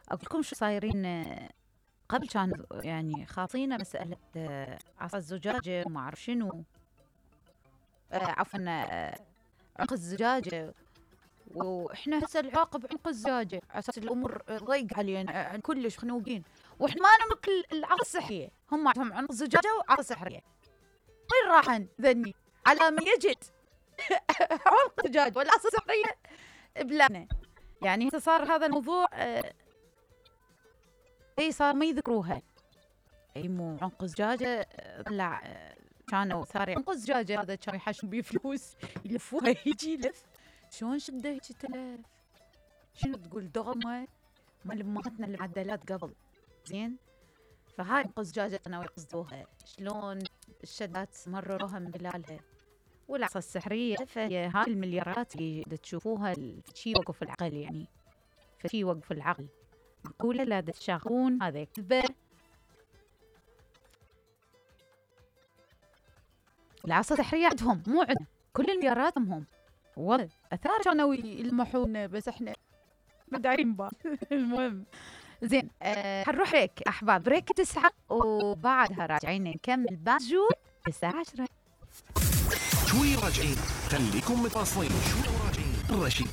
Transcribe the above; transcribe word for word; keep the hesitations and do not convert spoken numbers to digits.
اقول لكم شو صايرين. قبل كان يعني خاطينا مساله عصا الزجاجه وما اعرف شنو، عفوا عنق الزجاجه، واحنا هسه العواقب عنق الزجاجه على اساس الامور ضيق علينا كلش خنوقين، واحنا ما نملك العصا السحريه. هم عندهم عنق الزجاجه وعصا سحريه. وين راحن ذني؟ على ما يجد عنق الزجاجه والعصا السحريه بلادنا. يعني هسه صار هذا الموضوع اي صار ما يذكروها. اي مو عنق الزجاجه طلع كانوا ثاري عنق الزجاجه هذا كان يحشون بيه فلوس يلفوها يجي يلف. شلون شده هيك تلف؟ شنو تقول دغمه مال امهاتنا المعدلات قبل، زين؟ فهاي عنق الزجاجه كانوا يقصدوها. شلون الشدات مرروها من خلالها. والعصا السحريه فهي هاي المليارات اللي تشوفوها شي يوقف العقل، يعني فشي يوقف العقل. نقول لا تشاغون هذا كذبه. العصا السحريه عندهم مو عندنا، كل المليارات هم والله اثار كانوا يلمحونا بس احنا مدعين بال. المهم زين، أه حنروح بريك احباب، بريك تسعة وبعدها راجعين نكمل باجور الساعه عشرة. شوي راجعين، خليكم متواصلين. شوي راجعين. رشيد